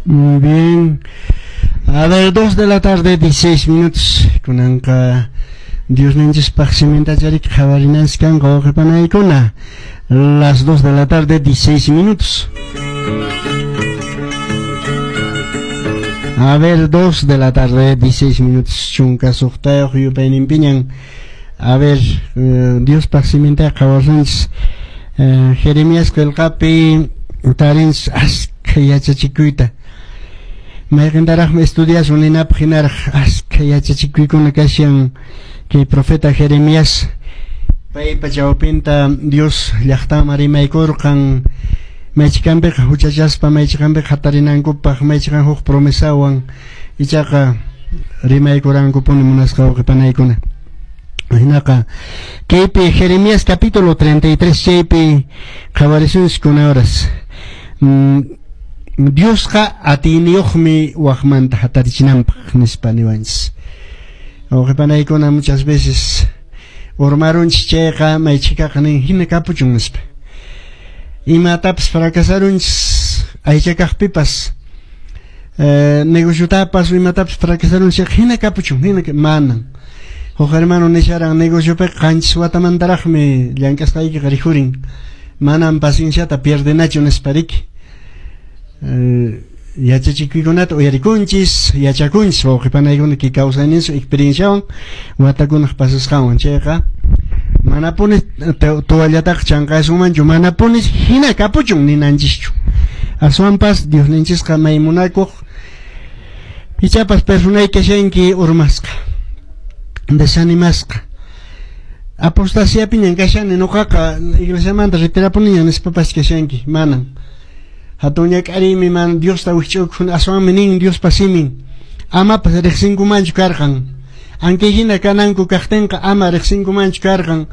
Muy bien. A ver, 2 de la tarde, 16 minutos. Kunanqa Diosninchispaq simintacharik qhawarinanchis kanqa wawqipanaykuna. Las 2 de la tarde, 16 minutos. A ver, 2 de la tarde, 16 minutos. Chunka suqtayuq yupayninpiñan. A ver, Diospaq siminta qhawasunchis. Jeremías qillqapi tarinchis askha yachachikuyta. Mayqintaraqmi estudiasun ninapaq hinaraq askha yachachikuykuna kashan kay profeta Jeremías. Paypa chawpinta Dios llaqtaman rimaykurqan maychikanpiqa huchachaspa, maychikanpiqa hatarinankupaq, maychikan huk promesawan ichaqa rimaykurankupuni munasqa wawqipanaykuna. Hinaqa kaypi Jeremías capítulo 33 chaypi qhawarisunchis kuna horas. Diosqa atiyniyuqmi waqmanta hatarichinanpaq nispa niwanchis. Wawqipanaykuna muchas veces urmarunchis chayqa maychikaqa nin hina kapuchun nispa. Imatapas fracasarunchis aychakaqpipas negociotapas imatapas fracasarunchis hina kapuchun hina manan. Huk hermano nisharan negociopiqa qanchis watamantaraqmi llank'asqaykiqa rikhurin. Manan pacienciata pierdenachu nispa riki. Yachachikuykunata uyarikunchis, yachakunchis wawqipanaykuna kay kawsayninchis experienciawan watakunaq pasasqanwan chayqa manapuni toallataqa chanqasunmanchu, manapuni hina kapuchun ninanchischu. Aswanpas Diosninchisqa may munakuq ichapas personay kashanki urmasqa, desanimasqa. Apostasiapiñan kashani nuqaqa iglesiamanta retirapuniñan nispapas kashanki, manan. Hatun ñak'ariymi man Diosta wikch'ukun aswanmi nin Diospa simin amapas riqsinkumanchu karqan. Ankay hina kananku kaqtinqa ama riqsinkumanchu karqan.